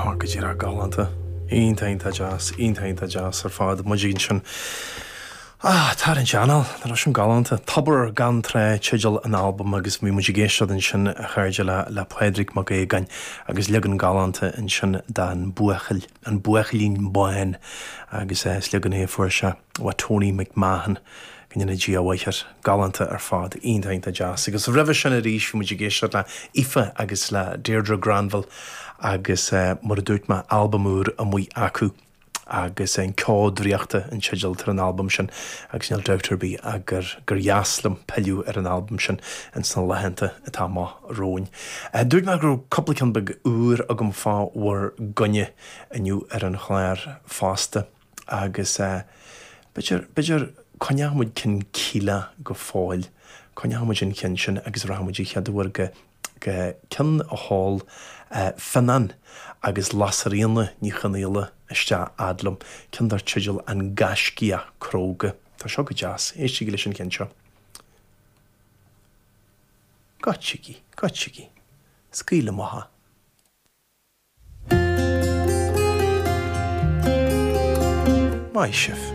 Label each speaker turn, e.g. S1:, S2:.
S1: Á, go díreach galánta. Iontach, iontach deas, iontach, iontach deas ar fad. Muid ansin. Ah, tarraingt anáil, nach raibh sin galánta. Tobar gan Trá teideal an albaim agus bhí muid ag éisteacht ansin, a chairde, le, le Pádraig Mac Aogáin agus leagan galánta ansin den Buachaill, An Buachaillín Bán agus is leagan é a fuair sé ó Tony McMahon. Go ndéana Dia a mhaith air. Galánta ar fad. Iontach, iontach deas. Agus roimhe sin arís bhí muid ag éisteacht le Aoife agus le Deirdre Granville agus mar a dúirt mé, albam úr amuigh acu agus An Ceo Draíochta an teideal atá ar an albam sin agus níl dabht ar bith ach gur gur dheas liom pilleadh ar an albam sin ins na laethanta atá amach romhainn. Dúirt mé go raibh cúpla ceann beag úr agam fá bhur gcoinne inniu ar an chlár fosta. Agus b'fhéidir, b'fhéidir, coinneoidh muid ceann Kíla go fóill, coinneoidh muid an ceann sin agus rachaidh muid an chéad uair go, go ceann a sheol Fionnán agus Lasairfhíona Ní Chonaola isteach fhad liom, ceann dar teideal An Gaiscíoch Cróga. Tá seo go deas, éistigí leis an cheann seo. Goitsigí, goitsigí, scaoil amach é. Maith sibh.